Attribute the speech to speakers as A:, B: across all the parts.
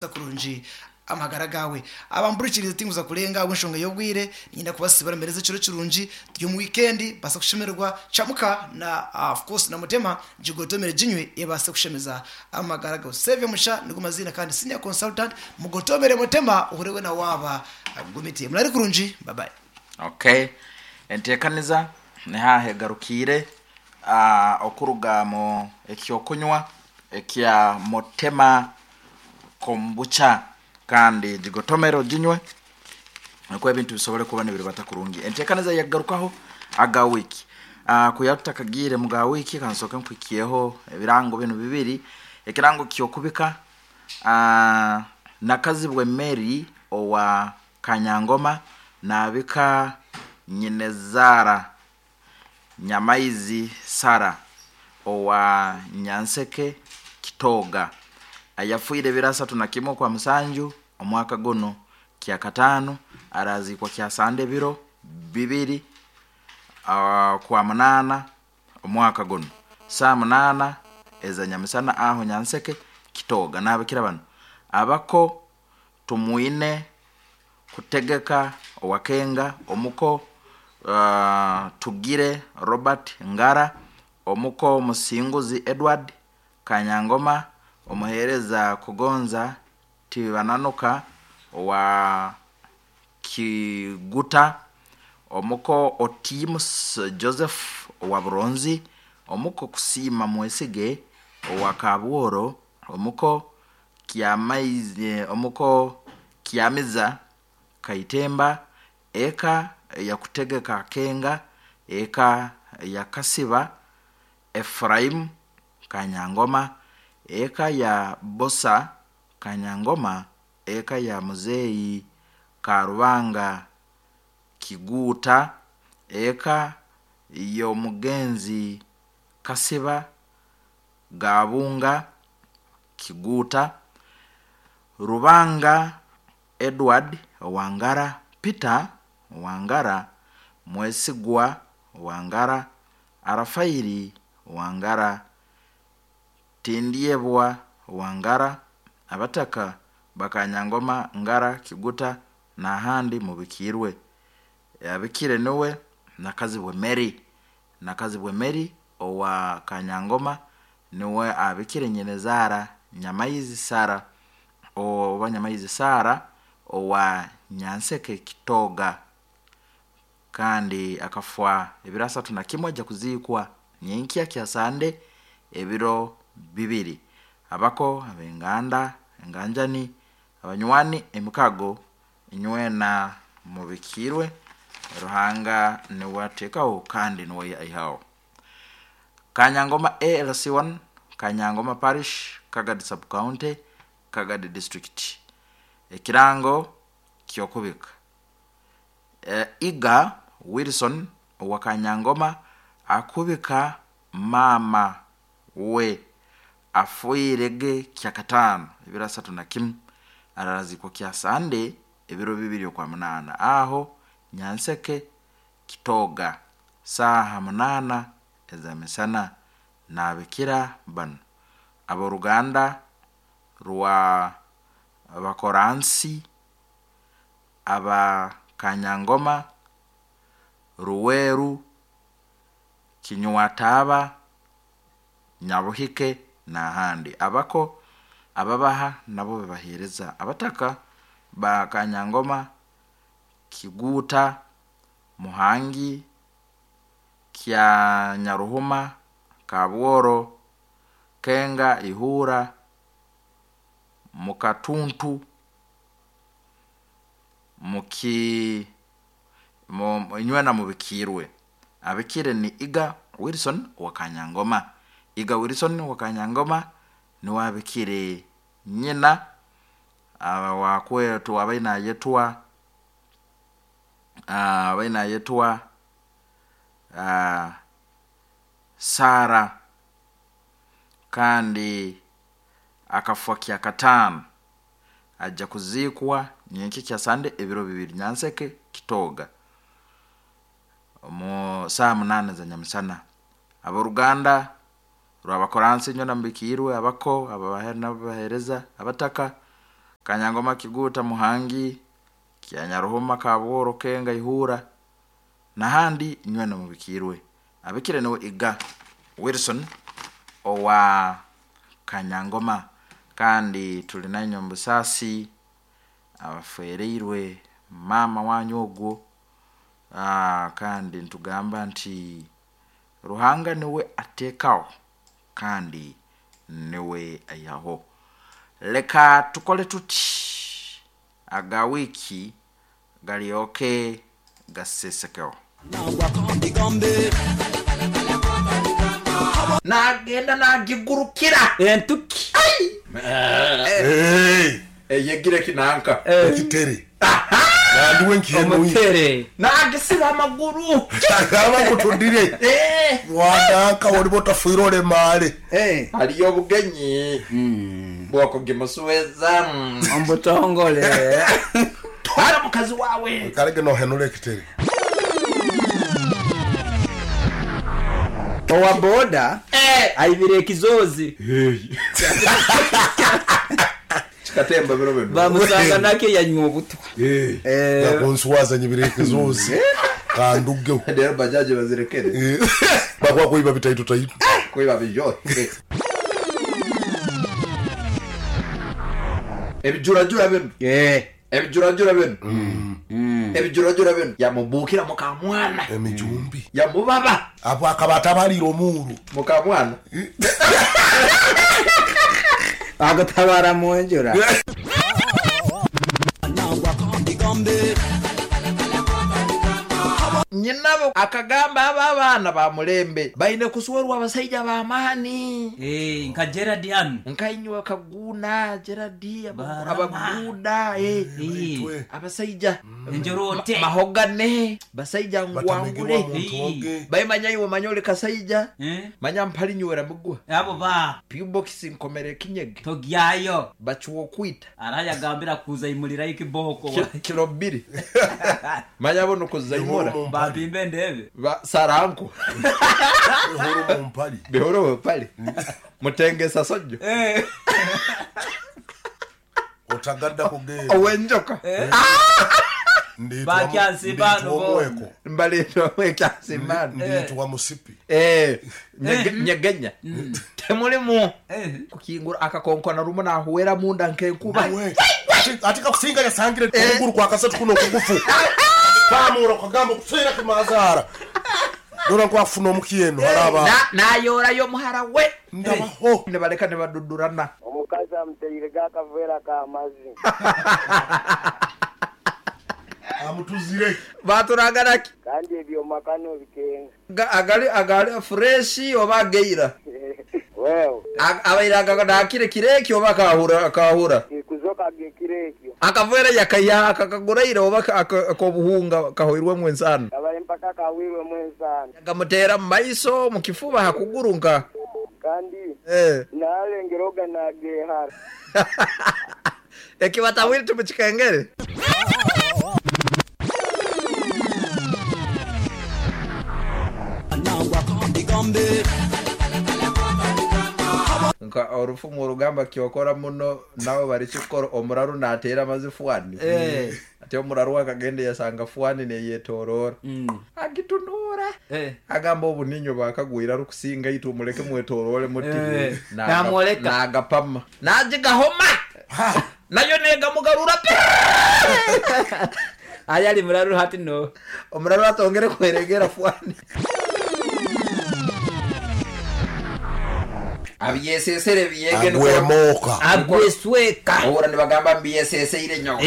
A: Kurungi amagara gawe abamburikirize tinguza kurenga ab'enshonga y'obwire nyina kubasibara mbereze ekiro kirungi turi omu weekend basa kushemererwa camuka na of course na mutema jigotomere jinywe ebase kushemeza amagara gawe. Save musha nigo mazina kandi senior consultant mugotomere mutema uhurewe na waba gumiti murari kurungi. Bye bye.
B: Okay, enteekaniza nihaha egarukiire okuruga mu ekyokunywa ekya Mutema Kombucha, kandi gigotomere oginywe nukwo ebintu bisobole kuba nibiribata kurungi. Enteekaniza yagarukaho aga wiiki. Kuya tutakagiire mu ga wiiki, kansooke nkuhikyeho ebirango binu bibiri. Ekirango ky'okubika Nakazibwe Mary owa Kanyangoma naabika nyinezaara Nyamaizi Sara owa Nyanseke Kitooga ayafiire ebiro 31 okwa musanju omwaka gunu kyakataano, araziikwa kyasande ebiro 2 kwa munaana omwaka gunu saa 8 eza nyamisana aho Nyanseke Kitooga. Naabikira banu: abako Tumwine Kutegeka Owakenga, omuko Tugire Robert Ngara, omuko Musinguzi Edward Kanyangoma, omuheereza Kugonza Tibananuka owa Kiguta, omuko Otimus Joseph owa Buronzi, omuko Kusiima Mwesige owa Kabworo, omuko Kyamaizi, omuko Kyamiza Kaitemba, eka eyakutegeka Kenga, eka ya Kasiba Ephraim Kanyangoma, eka ya Bosa Kanyangoma, eka ya Muzeeyi Karubanga Kiguuta, eka y'omugenzi Kasiba Gabunga Kiguuta, Rubanga Edward Owangara, Peter Wangara, Mwesigwa Wangara, Arafairi Wangara, Tindyebwa Wangara, abataka Bakanyangoma, Ngara, Kiguta n'ahandi mubikiirwe. Abikire niwe Nakazibwe Mary, Nakazibwe Mary owa Kanyangoma niwe abikire nyinezaara Nyamaizi Sara oba Nyamaizi Sara owa Nyanseke Kitooga, kandi akafa ebiro 31, ajja kuziikwa nyenkya kyasande ebiro 2. Abako, ab'enganda, enganjani, abanywani, emikago, inywena mubikiirwe. Ruhanga niwe ateekaho kandi niwe aihaho. Kanyangoma ALC1, Kanyangoma Parish, Kagadi Sub County, Kagadi District. Ekirango ky'okubika Iga Wilson owa Kanyangoma akubika maama we afiirege kyakataano ebiro 31, araraziikwa kyasande ebiro 2 okwa munaana aho Nyanseke Kitooga saaha 8 ez'amisana. Naabikira banu: ab'oruganda rwa Bakoransi aba Kanyangoma, Ruweru, Kinywataaba, Nyabuhike n'ahandi, abako ababaha nabo babaheereza, abataka ba Kanyangoma, Kiguuta, Muhangi, Kyanyaruhuma, Kabworo, Kenga, Ihura, Mukatuntu, muki inywena mubikiirwe. Abikire ni Iga Wilson owa Kanyangoma. Iga Wilson owa Kanyangoma niwe abikire nyina owakwetu abaire nayetwa abaire nayetwa Sara, kandi akafa kyakataano, ajja kuziikwa nyenkya kyasande ebiro 2 Nyanseke Kitooga omu saaha 8 za nyamisana. Ab'oruganda rw'Abakoransi inywena mubikiirwe, abako ababaha nabo babaheereza, abataka. Kanyangoma Kiguta Muhangi, Kyanyaruhuma Kabworo Kenga Ihura nahandi nywena mubikirwe. Abikire niwe Iga Wilson owa Kanyangoma. Kandi tuli nanywe mubusasi abafereirwe mama wanyu ogwo. Kandi ntugamba nti Ruhanga niwe atekaho kandi niwe ayaho. Leka tukole tuti aga wiki galioke gasesekeho. Nagenda nagigurukira
C: entuki.
D: Hey!
B: Eyegire kinanka
D: Ekitere nandiwe nkihemu
C: Omutere
B: nagisiba amaguru
D: agamba kutundire wandanka oliba otafuire olemale.
B: Haliyo obugenyi bwokugimusuweza
C: omubutongole.
B: Twala mukazi wawe.
D: Kalege nohenula ekitere.
C: Owa boda aibire ekizozi.
B: Kikatemba biro bino.
C: Bamusanga nake yanywa obutwa.
D: Nakunsuwazanye bire ekizozi kandugeho.
B: Rero bajaji bazirekere.
D: Bakwa kuiba bitaitu taitu.
B: Kuiba bijote. Ebijurajura bino. Ebijurajura bino. Ebijurajura bino. Yamubukira mukamwana.
D: Emijumbi.
B: Yamubaba.
D: Apo akabata balira omuru.
B: Mukamwana.
C: Agotabara munjura.
B: Nyinabo akagamba aba abaana ba mulembe baine kusuwerwa abasajja b'amaani.
C: Nka Gerard hano.
B: Nkainywa kaguna Gerard abaguda abasajja
C: Njorote.
B: Mahogane basajja ngwangule. Baimanya iwe manyole kasajja. Manya mpali nywera mugwa.
C: Abo ba
B: P-box nkomere kinyege.
C: Togyayo.
B: Bachuwo kwita.
C: Arayagambira kuza imulira ikiboko.
B: Kilo 2. Manya bono kuzaimura.
C: Babimbe ndebe.
B: Ba saranko.
D: Bihoro mumpali.
B: Bihoro mumpali. Mutengesa sojo.
D: Otagadda kugenda.
B: Owenjoka.
C: Bakyansimbano
D: bo.
B: Mbalito wekyansimbano.
D: Nditwa musipi.
B: Nyegenya. Temulimu. Kukingura akakonkona rumo nahuwera munda nkenkuba.
D: Atika kusinga yasangire kuguru kwa kasatu kuno kugufu. Pamuro kagamba kusira kimazara. Dora kwa funo mukieno haraba.
B: Na yora yo muhara we.
D: Ndabaho.
B: Ne baleka ne badudurana.
E: Omukazi amuteire gakavera ka mazi.
D: Amutuzire.
B: Baturagaraki.
E: Kandi ebyo makano bikenga.
B: Agali agali fresh oba geira.
E: Wewe.
B: Abaira akakire kireki oba kahura kahura.
E: Kuzoka gekireki.
B: Akavera yakaya akakaguraira oba akobuhunga kahoirwe mwensano.
E: Abale mpaka kawirwe mwensano.
B: Akamutera maiso mukifuba hakugurunka.
E: Kandi nalengeroga nagehara.
B: Ekibatawiri tumuchikengere. Nka orufumu orugamba kyokora muno nawe bari kikoro omuraru natera amazi fuani. Ate omuraru akagende yasanga fuani neyetorora. Agitunura. Agamba obuninyo bakagwira rukusinga itu muleke mwetorore muti.
C: Namoleka.
B: Nagapama. Najigahoma. Nayo nega mugarura pe.
C: Ayali muraru hati no.
B: Omuraru atongere kweregera fuani. Abyesesere biyege
D: nuko agwemoka
C: agwesweka
B: ohura nibagamba mbyesesere nyo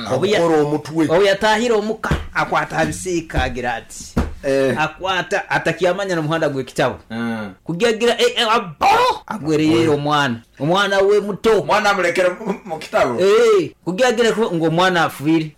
D: akora omutwe
C: oyatahira omuka akwata abisika agira ati akwata atakiamanya n'omuhanda gw'ekitabo kugiagira abo agwereye omwana we muto
B: mwana amulekera mu kitabo
C: kugiagira ngo omwana afuire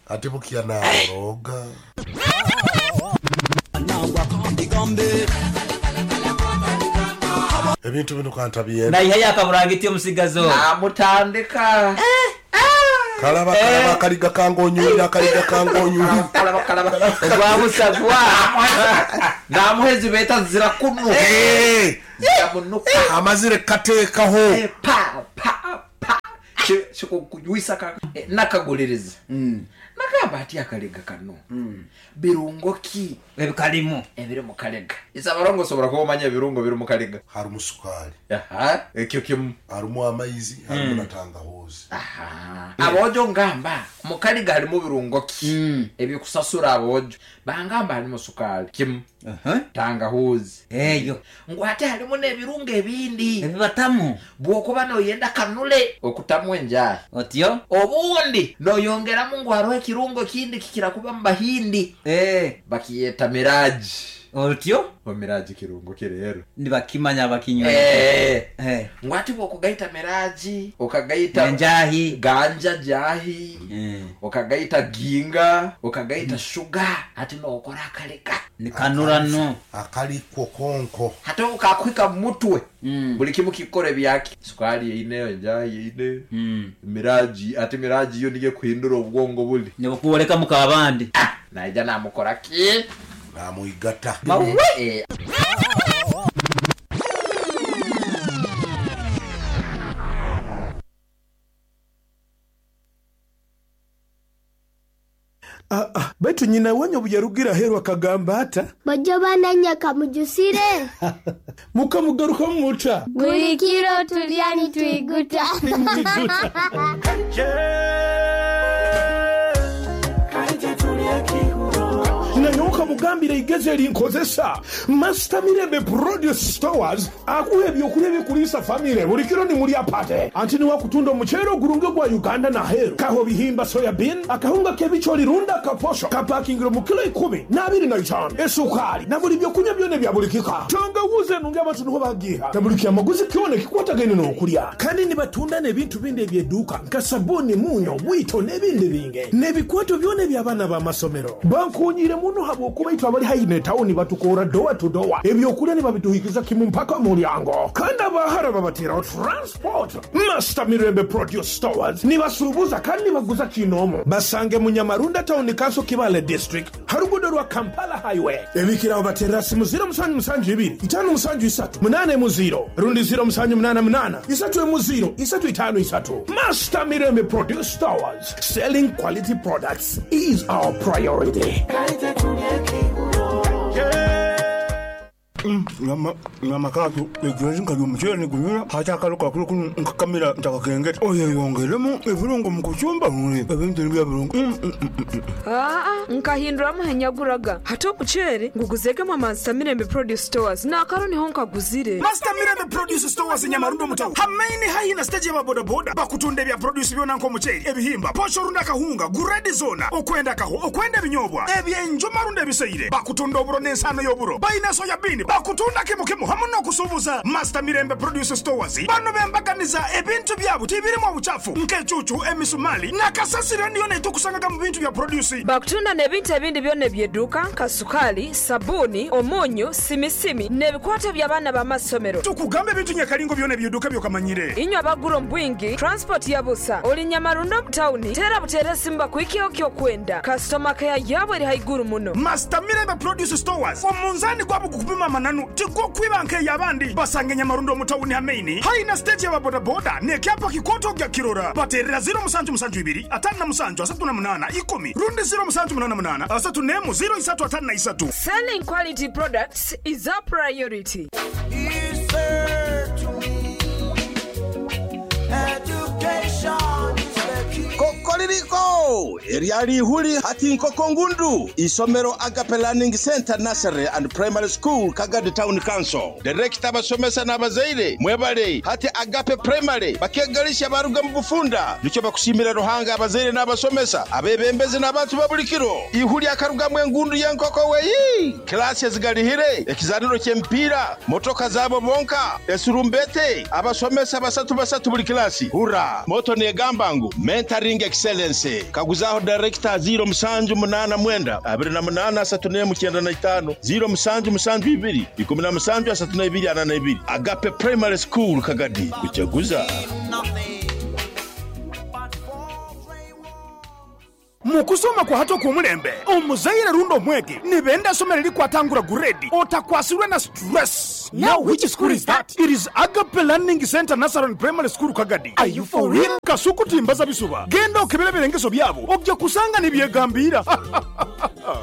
D: atibukia na roga ebintu bino kantabiye
C: na ihaya akaburangiti omusigazo
B: namutandika
D: kalaba kalaba kaliga kangonyulira kaliga kangonyulira
B: kalaba kalaba
C: ogwamusagwa
B: namuhezi beta zira kunu ziramunuka
D: amazire kateekaho
B: pa pa pa Kikukujwisa nakaguliriza nagamba ati akalega kano birungo ki
C: ebikalimu
B: ebiri mu kalega isabarongo osobora kuba omanya ebirungo biri mu kalega.
D: Harimu sukari,
B: ekyo kimu,
D: harimu amaizi, harimu na tangahuzi.
B: Abojo ngamba mu kalega harimu birungo ki ebikusasura abojo bangamba harimu sukari kimu, tangahuzi
C: eyo
B: ngu ate harimu n'ebirungo ebindi
C: ebibatamu
B: bwokuba noyenda kanule okutamu enjahi
C: otyo
B: obundi noyongeramu ngu hariho ekirungo kindi kikira kuba mu bahindi bakiyeta miraji.
C: Otyo
B: omiraji kirungo kirero
C: nibakimanya bakinywa
B: ngu ati bwokugaita miraji okagaita
C: enjahi
B: ganja jahi okagaita ginga okagaita shuga ati nokora akalega
C: nikanurano
D: akaliko konko
B: hata ukakwika mutwe buli kimu kikore byaki sukari eineyo enjahi eine miraji ati miraji yo niye kuhindura obwongo buli
C: nibukuoleka mukabandi
B: naija namukora ki
D: namuigata
B: mawe.
F: Baitu nyina wanyu obuyarugira aheeru akagamba ata
G: bajjo bananyaka mujusire
F: mukamugaruka muta
G: buli kiro tulya nitwiguta.
F: Nanyoka mugambire igeze erinkozesa Master Mirembe Produce Stores akuha ebyokulya ebikulisa famire buli kiro nimuli apate anti niwakutunda omuceere ogurunge gwa Uganda naheeru kaho bihimba soya bean akahunga k'ebikyoli runda akaposho kapakingire mu kilo 10 na 25 esukari na buli byokunywa byona ebya buli kika tangawuzi enungi abantu niho bagiha na buli kyamaguzi kyona ekikwatagaine n'okulya kandi nibatunda n'ebintu bindi ebyeduuka nka sabuni munyo bwito n'ebindi binge n'ebikwato byona eby'abaana b'amasomero bankunyire muno habwokuba itwe abali haihi netawuni batukora dowa to dowa ebyokulya nibabituhikiza kimu mpaka mulyango kandi abahara babateraho transport. Master Mirembe Produce Stores nibasuubuza kandi nibaguza kinomu basange Munyamarunda Town Council Kibale District harugudo rwa Kampala Highway ebikiraho batera simu 0772 573 80 rundi 0788 3 353. Master Mirembe Produce Stores, selling quality products is our priority.
H: Nyama katu egwezi nkalya omuceere nigunyura hati akalo kakulu kuno nkakamira ntakakengeta oyeyongeremu ebirungo mu kucumba ebintu nibya birungo.
I: Nkahinduramu henyaguraga hati omuceere nguguzegemu Master Mirembe Produce Stores nakaro niho nkaguzire.
J: Master Mirembe Produce Stores Nyamarundo mutawu hamaini haihi na stage y'ababodaboda bakutunda ebya produce byona nk'omuceere ebihimba posho runda akahunga guredi zona okwenda kaho okwenda ebinyobwa ebyenjuma runda ebiseire bakutunda oburo n'ensano y'oburo bayina soya bean bakutunda kimu kimu hamu n'okusuubuza. Master Mirembe Produce Stores bano bembaganiza ebintu byabo tibirimu obuchafu nk'ecucu emisumali nakasasiro niyo netukusangaga mu bintu bya produce
I: bakutunda n'ebintu ebindi byona ebyeduuka nka sukali sabuni omunyu simisimi n'ebikwato by'abaana b'amasomero.
J: Tukugamba ebintu nyakalingo byona ebyeduuka byokamanyire
I: inywe abagura omu bwingi transport ya busa oli Nyamarundo mutawuni tera butere simba kuikio kyokwenda customer care yabo eri haiguru muno.
J: Master Mirembe Produce Stores omunzani gwabo gukupima mananu tigokwiba nk'eyabandi basange Nyamarundo mutawuni hamaini haina stage y'ababodaboda nekyapa kikoto gya kirora baterera 0772 57 38 10 rundi 0788 34 0353.
I: Selling quality products is our priority.
K: Kokoririko eryali ihuli hati nkoko ngundu isomero Agape Learning Center Nursery and Primary School Kagadi Town Council Director abasomesa n'abazaire mwebale hati Agape Primary bakegalisha baruga mu bufunda nicyo bakushimira Ruhanga abazaire n'abasomesa abebembezi n'abantu babulikiro ihuli akarugamwe engundu y'enkoko weyi klasi ezigalihire ekizaniro ky'emipiira motoka zabo bonka esurumbete abasomesa basatu basatu buli klasi hura moto negamba ngu mentoring excellence kaguzaho director 0789 28 395 0772 17 32 42 Agape Primary School Kagadi kuchaguza.
J: Mukusoma kwa hato kumulembe omuzaire rundo mwege nibenda somero likwatangura guredi otakwasirwe na stress.
F: What? Now which school is that? It is Agape Learning Center Nursery and Primary School Kagadi. Are you for real? Kasuku timbaza bisuba. Genda okebere ebirengeso byabo ojja kusanga nibyegambiira.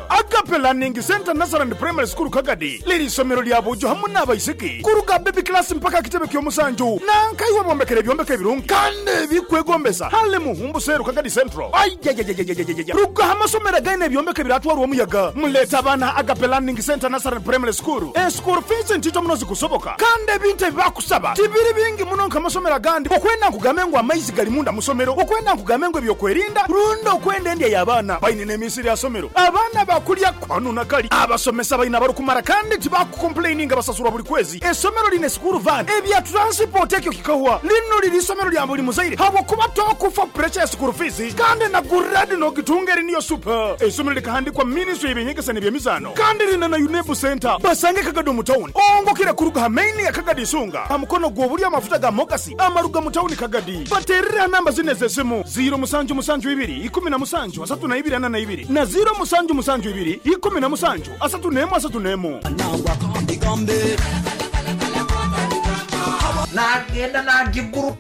F: Agape Learning Center Nursery and Primary School Kagadi liri isomero lya bujo hamu n'abaisiki kuruga baby class mpaka kitebe ky'omusanju nankaiwe bombekera ebyombeko ebirungi kandi ebikwegombesa hale muhumbu seru Kagadi Central. Ayayayayayayaya ruga amasomero againe ebyombeko ebiratwarwa omuyaga muleta abaana Agape Learning Center Nursery and Primary School. Eschool fees ntito muno zikusoboka kandi ebintu ebibakusaba tibiri bingi muno nk'amasomero agandi okwenda nkugambe ngu amaizi gali munda musomero okwenda nkugambe ngu ebyokwerinda rundi okwenda endya y'abaana baine n'emisiri ya somero abaana bakulya kwanu nakali abasomesa baina barukumara kandi tibakukomplaininga basasurwa buli kwezi. Esomero line school van ebya transport ekyo kikahwa lino liri isomero lya buli muzaire habwokuba tokufa pressure ya school fees kandi na grade nogitunga eri niyo super. Esomero likahandikwa ministry y'ebyenyegesa n'ebyemizaano kandi lina na UNEB center basange Kagadi mu town ongokera kuruga ha main ya Kagadi Isunga ha mukono gw'obuli amafuta ga Mogasi amaruga mu town Kagadi. Baterera namba zine z'esimu 0 musanju musanju ibiri ikumi na musanju asatu na ibiri ana na ibiri na 0 musanju musanju ibiri ikumi na musanju asatu nemu asatu nemu.
B: Nagenda nagiguru